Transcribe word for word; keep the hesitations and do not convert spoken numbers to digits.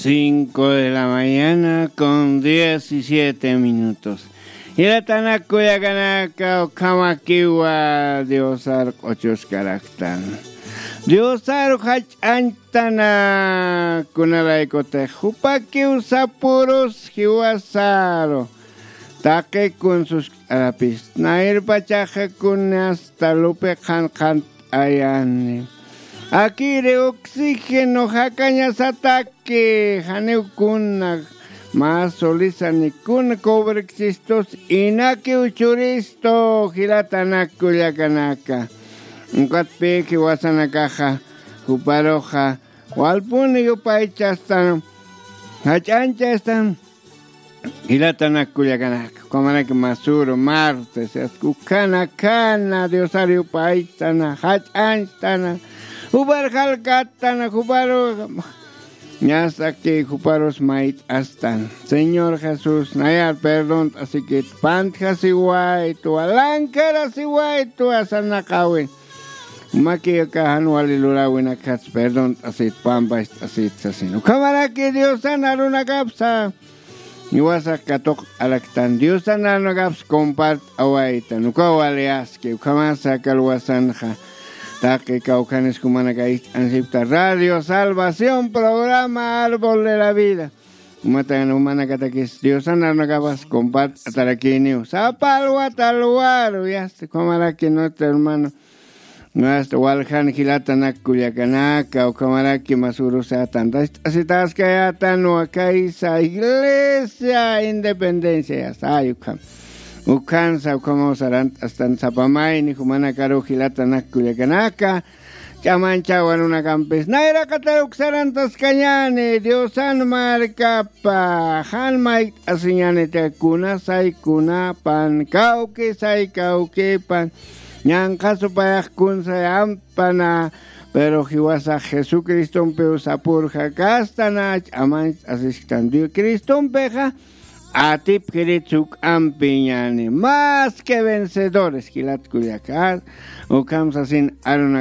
Cinco de la mañana con diecisiete minutos. Jilatanak kullakanaka, ukhamakiwa Diosar q'uchuskaraktan. Diosar jach'añchtana, kunalaykutix jupakiw sapürus jiwasaru. Taqi kun suskt'arapis, nayr pachaxa kun hasta lupi qhanqhant'ayani. Akiri oxígeno jakañasataki, janiw kuna, mä solisani kuna cobrksistus, inakiw churistu, jilatanak kullakanaka. Ukatpï jiwasanakaxa, juparuxa, walpuni yupaychastan, jach'añchastan, jilatanak kullakanaka, ukhamaraki masüru martes, ukhana, ukhana, Diosar yupaytana, jach'añchtana, jupar jalkattana, juparu, ñasaki juparus mayt'astan. Señor Jesús, nayar perdont'asikit, pantjasiwaytwa, lankarasiwaytwa, sarnaqäwin. Jumakiw aka jan wali luräwinakjats perdont'asit, pampacht'asit sasin. Ukhamaraki Diosan arunakapsa, jiwasax katuqt'araktan, Diosan arunakaps compart'awaytan, ukaw wali aski, ukhamasa aka luwasanxa. Taqi kawkhanis jumanaka ist'ansipkta Radio Salvación, programa Árbol de la Vida. Umatan jumanakatakis Diosan arunakapas compart'atarakïniw. Sapa alwat alwaru, yasta, ukhamaraki nuestro hermano. Hasta waljan jilatanak kullakanaka, ukhamaraki masürusa tantacht'asitaskayätanwa kaysa Iglesia Independencia, yasta, ay ukham. Ukhansa, ukhamaw sarant'astan sapa mayni jumanakaru jilatanak kullakanaka. Ch'amañchäwa arunakampis, nayraqatar uk sarantaskañäni, Diosan markapa, jan mayt'asiñäniti kuna say kunapan, kawki say kawkipan, ñanqha supayax kun say ampana, pero jiwasax Jesucristompiw sapür jakastana, ch'amañcht'asisktan Dios Cristompixa, atipjirit juk'ampiñäni, más que vencedores, jilat kullaka, ukham sasin aruna